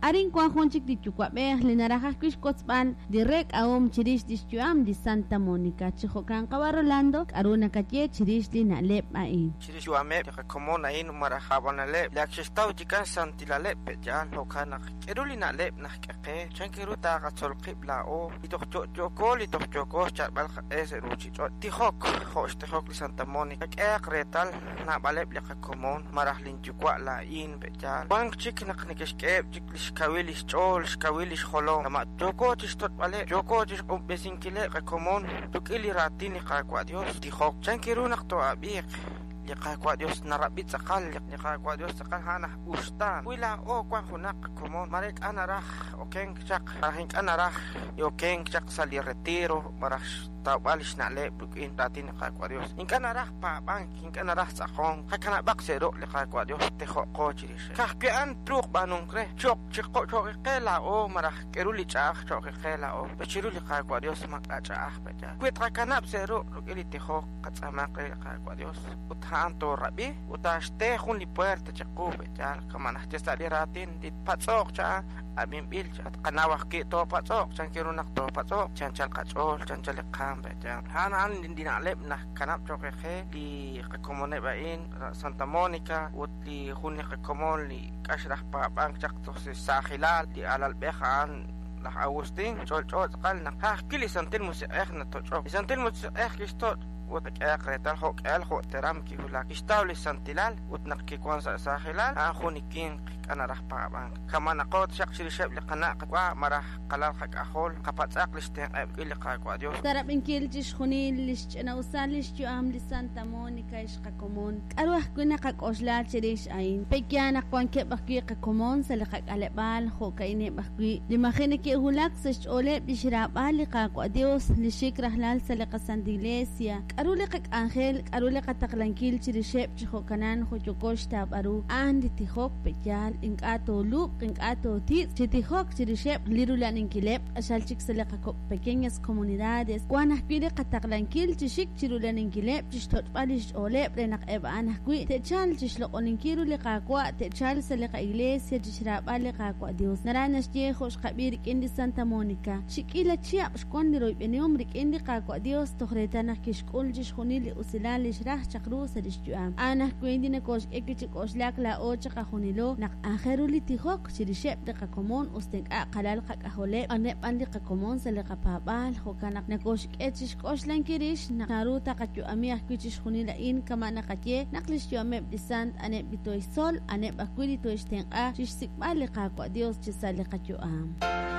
Arin wan jun chik li yuwa'b'ej li naraj ajwi' xwotzb'al li reek'ahom chirix lix yu'am li Santa Monica. Chi jo'kan qawa' Rolando, k'a'ru nakaye chirix li na'leb' a'in? Chirix xyu'ameb' li qakomon a'in malaj ab'analeb' li ak xe'xtaw chikan xsantilaleb' pe'yaal. Jo'kan naq, k'eru li na'leb' naxk'e qe? Chan ru taqatzol qib' laa'o li toj yo'yooko li toj yooko xyalb'al qaq'e sa' ruuchich'och'? Tijok jo' xtijok li Santa Monica. Qak'ehaq reetal naab'aleb' li qakomon malaj lin yuwa' laa'in pe'yaal. Wank chik naq neke'xk'eheb' chik li xkawil li xch'ool, xkawil li xjolom. Kama' yooko chixtoch'b'aleb', yooko chixq'unb'esinkileb' qakomon rik'in li raatin li Qaawa' Dios. Tijok. Chan ru naq too'ab'iiq? Li Qaawa' Dios narab'i tz'aqal. Li Qaawa' Dios tz'aqal a'an aj uxtaan. Wi laa'o wan junaq qakomon, mare ink'a' naraj okenk chaq, malaj ink'a' naraj okenk chaq sa' li retiro, malaj xtawb'al li xna'leb' rik'in raatin li Qaawa' Dios. Ink'a' naraj paab'ank, ink'a' naraj tz'aqonk. Qakanab'aq sa' ruq' li Qaawa' Dios, tijoqo chirix. Ka'ajwi' a'an truuq b'aanunk re, cho'q chiqo qe laa'o malaj k'eru li ch'a'aj cho'q qe laa'o. Pero chiru li Qaawa' Dios maak'a' ch'a'aj pe'yaal. Wi tqakanab' sa' ruq' rik'in li tijok, qatz'aamaq re li Qaawa' Dios ut a'an toorab'i ut taaxte jun li puerta chiqu pe'yaal. Kama' naxye sa' li raatin, li patz'oq cha'an ab'inb'il cha. Tqanaw ajwi' toopatz'oq, chan ru naq toopatz'oq, chanchal qach'ool, chanchal li qaam pe'yaal. A'an a'an li na'leb' naxkanab' cho'q qe li qakomoneb' a'in, Santa Monica ut li jun li qakomon li k'ax raj paab'ank chaq toj sa' xsaajilal, li alalb'ej a'an laj Agustín, ch'olch'o tz'aqal naq ka'ajwi' li Santil Musiq'ej natoch'ok. Li Santil Musiq'ej kixtoch' ut qak'ehaq reetal jo' k'ehal jo' teram kiwulak. Kixtaw li santilal ut naq kiwan sa' saajilal, a'an jun li winq k'a naraj paab'ank. Kama'naqo taxaq chirixeb' li qana' qayuwa' malaj qalal qak'ajol, qapatz'aq li xtenq'eb' rik'in li Qaawa' Dios. Sa' rab'inkil chixjunil lix ch'ina'usal lix yu'am li Santa Monica ex qakomon, k'a'ru ajwi' naqak'oxla chirix a'in? Pe'yaal naq wankeb' ajwi' qakomon sa' li qak'aleb'aal jo'ka'ineb' ajwi' li maji' neke'wulak sa' xch'ooleb' lix raab'al li Qaawa' Dios li xik rajlal sa' li qaSanta Iglesia? K'a'ru li qak'anjel, k'a'ru li qataqlankil chirixeb' chi jo'kanan jo' yooko xtawb'al ru? A'an li tijok, pe'yaal ink'a' toolub'q, ink'a' tootitz' chi tijok chirixeb' li rula'aninkileb' q'axal chik sa' li qakok' pequeñas comunidades. Wan ajwi' li qataqlankil chi xik chirula'aninkileb' chixtoch'b'al lix ch'ooleb' re naq eb' a'an ajwi' te'chalq chixloq'oninkil ru li Qaawa', te'chalq sa' li qa'iglesia chixraab'al li Qaawa' Dios. Naraj naxye jo' xqab'i rik'in li Santa Monica, chi k'iila chihab' xwan li royb'enihom rik'in li Qaawa' Dios toj reetal naq kixk'ul chixjunil li usilal li xraj chaq ru sa' lix yu'am. A'an ajwi' li nokoxk'e wi' chi k'oxlak laa'o chiqajunilo naq aajel ru li tijok chirixeb' li qakomon us ta ink'a' qalal qak'ajoleb', a'aneb' b'an li qakomon sa' li qapaab'aal. Jo'kan naq nokoxk'e chixk'oxlankil rix naq naru taqayu'ami ajwi' chixjunil a'in kama' naqaye naq lix yu'ameb' li sant a'aneb' li tooxtzol, a'aneb' ajwi' li tooxtenq'a chixsik'b'al li Qaawa' Dios chi sa' li qayu'am.